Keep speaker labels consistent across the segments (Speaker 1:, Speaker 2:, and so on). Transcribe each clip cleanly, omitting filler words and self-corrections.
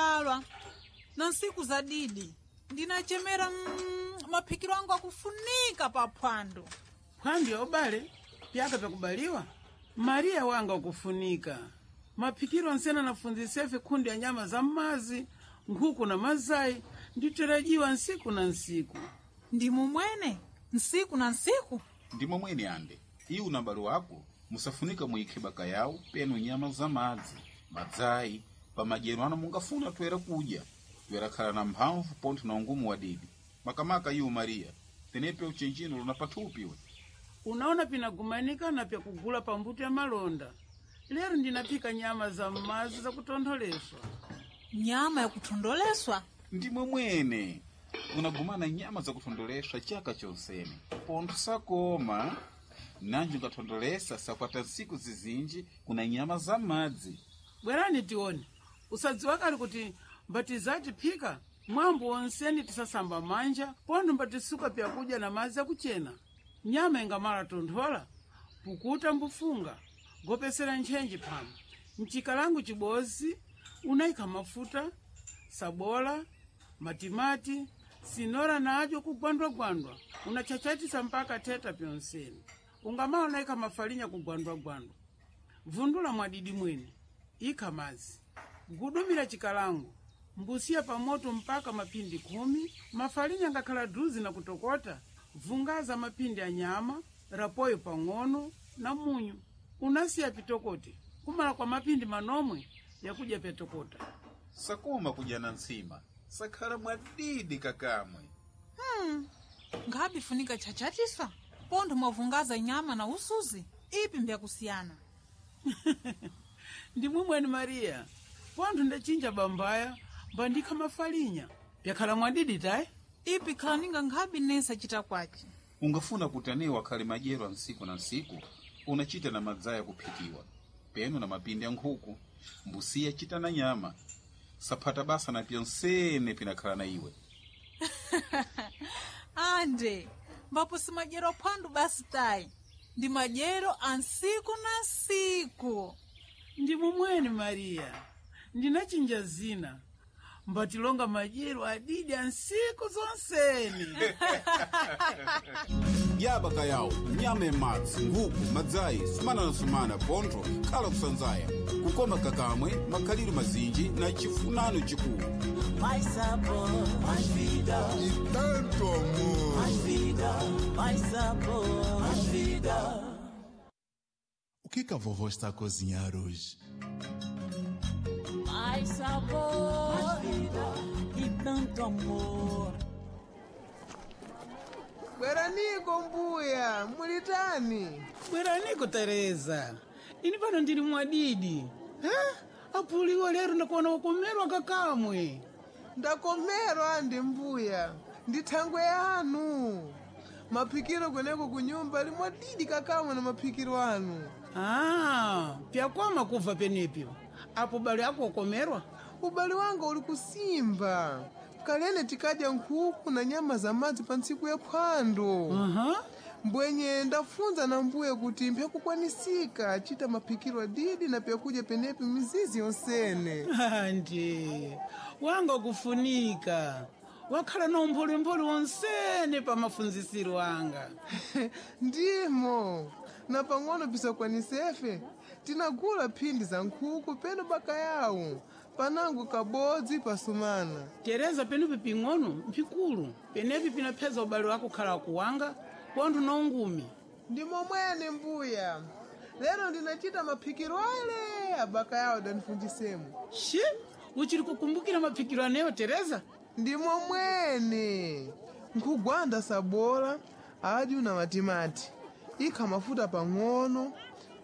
Speaker 1: Ndinapalwa na nsiku za didi ndinachemera maphikiro angu akufunika pa phwando.
Speaker 2: Phwando ya ubale pyaka pyakubaliwa Mariya wanga ukufunika maphikiro onsene anafunzisefe khundi ya nyama za mmazi, nkhuku na mazayi nditerajiwa nsiku na nsiku.
Speaker 1: Ndi mumwene nsiku na nsiku.
Speaker 3: Ndimo mwene ande iwu na m'bale wako musafunika muyikhe baka yawo penu nyama za madzi, madzayi pamadyero ano mungafuna toera kudya, toera khala na mphamvu pontho na ungumu wadidi. Makamaka iwu Mariya, tenepe uchenjino luna pathupi we.
Speaker 2: Unaona pinagumanika na pyakugula pambuto ya malonda. Lero ndinaphika nyama za mmazi zakutontholeswa.
Speaker 1: Nyama yakuthondoleswa?
Speaker 3: Ndimwe mwene unagumana nyama zakuthondoleswa chaka chonsene, pontho sakoma nanji ungathondolesa sakwata nsiku zizinji kuna nyama za madzi.
Speaker 2: Bwerani tione, usadziwa kali kuti mbatizati phika mwambo wonseni tisasamba manja pontho mbatisuka pyakudya na madzi akuchena. Nyama ingamala tonthola, pukuta mbufunga, gopesera ntchenji phama. Mchikalangu chibozi unayikha mafuta, sabola, matimati, sinora nadyo kugwandwagwandwa, unachachatisa mpaka theta pyonseni. Ungamala unayikha mafalinya kugwandwagwandwa, vundula mwadidi mwene, ikha madzi, gudumira chikalango, mbusiya pamoto mpaka mapindi 10. Mafalinya ngakhala druzi na kutokota, vungaza mapindi a nyama rapoyo pang'ono na munyu. Unasiya pitokote kumala kwa mapindi manomwe yakudya pyatokota.
Speaker 3: Sakoma kudya na ntsima sakhala mwadidi kakamwe.
Speaker 1: Nkhabe funika chachatisa pontho mwavungaza nyama na usuzi, ipi mbyakusiyana?
Speaker 2: Ndimwe mwene Mariya, pontho ndachinja bambaya mbandikha mafalinya pyakhala mwadidi tayi.
Speaker 1: Ipi khalaninga nkhabe nesa chita kwace.
Speaker 3: Ungafuna kuti anewo akhale madyero a ntsiku na ntsiku, unachita na madzaya kuphikiwa peno na mapindi a nkhuku, mbusiya chita na nyama saphata basa na pyonsene pinakhala na iwe.
Speaker 1: Ande mbapo si madyero aphwando basi tayi, ndi madyero a nsiku na nsiku.
Speaker 2: Ndi mumweni Mariya, ndinachinja zina mbatilonga madyero adidi a nsiku zonsene.
Speaker 3: Yaba yawo nyama yamadzi, nkhuku, madzayi, sumana na sumana pontho khala kusanzaya kukoma kakamwe makhaliro mazinji na chifunano chikulu.
Speaker 4: Mais sabor, mais vida.
Speaker 5: E tanto amor.
Speaker 4: Mais vida, mais sabor, mais vida.
Speaker 5: O que que a vovó está a cozinhar hoje?
Speaker 4: Mais sabor, mais vida e tanto amor.
Speaker 6: Bweraniko mbuya, mulitani?
Speaker 2: Bweraniko Tereza, ini pano ndili mwadidi ha? Apuliwa lero ndakuona wakomerwa kakamwe.
Speaker 6: Ndakomerwa andi mbuya, ndi thangwe yanu. Maphikiro kweneko kunyumba limwadidi kakamwe na maphikiro anu.
Speaker 2: Ah, pyakwama kubva penepyo apo bale ako wakomerwa.
Speaker 6: Ubale wanga uli kusimba. Kalene tikadya nkhuku na nyama za madzi pa ntsiku ya phwando.
Speaker 2: Aha.
Speaker 6: Mbwenye ndafunza na mbuye kuti mpyakukwanisika chita maphikiro adidi na pyakudya penepi mizizi yonsene.
Speaker 2: Andi wanga kufunika wakhala na umphulimpuli wonsene pa mafunzisiro anga.
Speaker 6: Ndimo na pang'ono pisakwanisefe tinagula phindi za nkhuku peno baka yawo panango kabodzi pasumana.
Speaker 2: Tereza penepi ping'ono mphikulu penepi pinapheza ubale wako khala kuwanga pontho na ungumi.
Speaker 6: Ndimo mwene mbuya, lero ndinachita maphikiro ale abaka yawo dandifunjisemo.
Speaker 2: Shi uchili kukumbukira maphikiro aneyo Tereza?
Speaker 6: Ndimo mwene nkhugwanda sabola adyu na matimati, ikha mafuta pang'ono,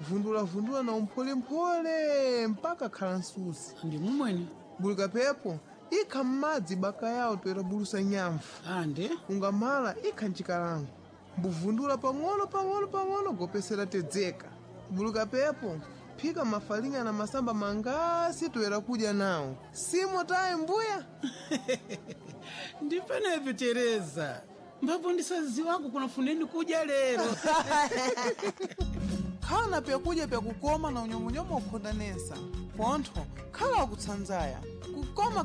Speaker 6: vundulavundula na umpholemphole mpaka khala msuzi.
Speaker 2: Ndimo mwene.
Speaker 6: Bulika pepo ikha m'madzi baka yawo toera bulusa nyamfu.
Speaker 2: Ande
Speaker 6: Ungamala ikha mchikalango mbuvundula pang'ono pang'ono pang'ono gopesera tedzeka. Buluka pepo phika mafalinga na masamba mangasi toera kudya nawo simo tayi mbuya.
Speaker 2: Ndi penepi Tereza, mbapo ndisaziwako kunafuneni kudya lero.
Speaker 6: Khala na pyakudya pyakukoma na unyomunyomu wakukhondanesa pontho khala wakutsanzaya kukoma.